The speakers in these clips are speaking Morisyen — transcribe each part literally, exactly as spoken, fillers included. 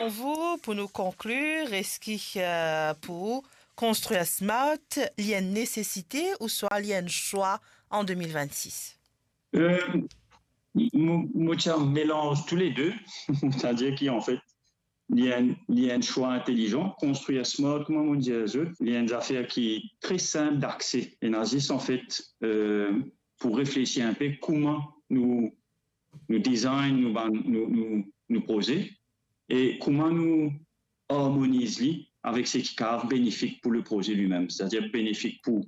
Pou vou, pou nou konklir, eski, euh, pou ou, konstrir smart, li enn nesesite ouswa li enn swa an de mil vennsis? Euh, mo, mo ti a melanz tou le de. Setadir ki, anfet, li enn, li enn swa intelizan. Konstrir smart, kouma mo dir zot, li enn zafer ki tre sinp dakse. Ena zis, anfet, euh, pou reflesi inpe kouma nou, nou design, nou bann, nou, nou, nou proze, e kouma nou armoniz li avek seki kav benefik pou le proze limem, setadir benefik pou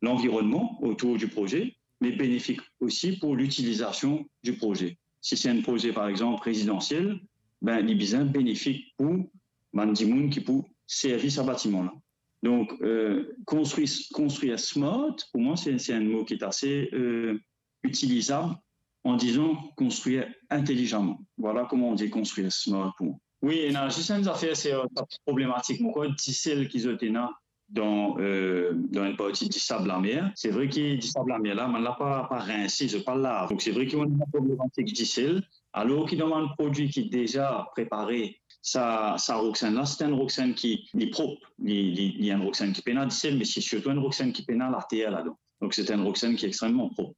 lanvironnman otour di proze, me benefik osi pou litilizasion di proze. Si se enn proze, par exanp, rezidansiel, ben, li bizin benefik pou bann dimoun ki pou servi sa batiman la. Donk, euh, konstrir, konstrir smart, pou mwa, se, se enn mo ki est assez, euh, itilizab an dizan konstrir intelizaman. Vwala kouma on dir konstrir smart pou mwa. Wi, ena zis enn zafer, se, euh, sa ti problematik, mo krwar, disel ki zot ena dan, euh, dan enn parti Disab Lamer. Se vre ki Disab Lamer la, bann la pa, pa rinse, zot pa lav. Donk, se vre ki ena problematik disel. Alor ki dan bann prodwi ki deza prepare, sa, sa roksenn la, se enn roksenn ki, li prop, li, li, li enn roksenn ki pena disel, me se sirtou enn roksenn ki pena later ladan. Donk, se enn roksenn ki extrememan prop.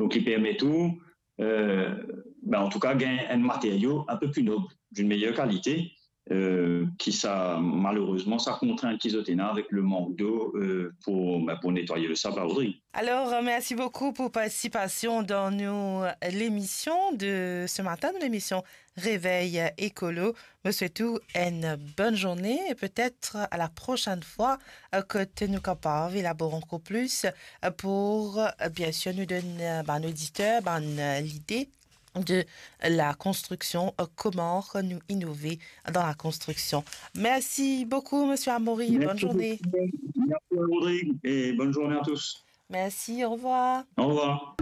Donk, li permet ou, euh, ben, antouka, gagn enn materio inpe pli nob, d'une meilleure qualité, euh, ki sa, malerezman, sa kontrint ki zot ena avek le mank dlo, euh, pou, ben, pou netwaye le sab la, Rodrig. Alors, euh, merci beaucoup pour participasion dans nos, euh, l'émission de ce matin, dans l'émission Réveil Écolo. Mo swet ou enn bonn zourne e petet a la prosenn fwa, euh, kot nou kapav elabor ankor plis, euh, pou, euh, bien sûr, nou donn, euh, bann oditer, bann, euh, lide de la konstriksion, euh, kouma nou inove dan la konstriksion. Merci beaucoup, monsieur Amaury. Bonne journée. Merci beaucoup. Merci, Rodrigue, et bonne journée à tous. Merci, au revoir. Au revoir.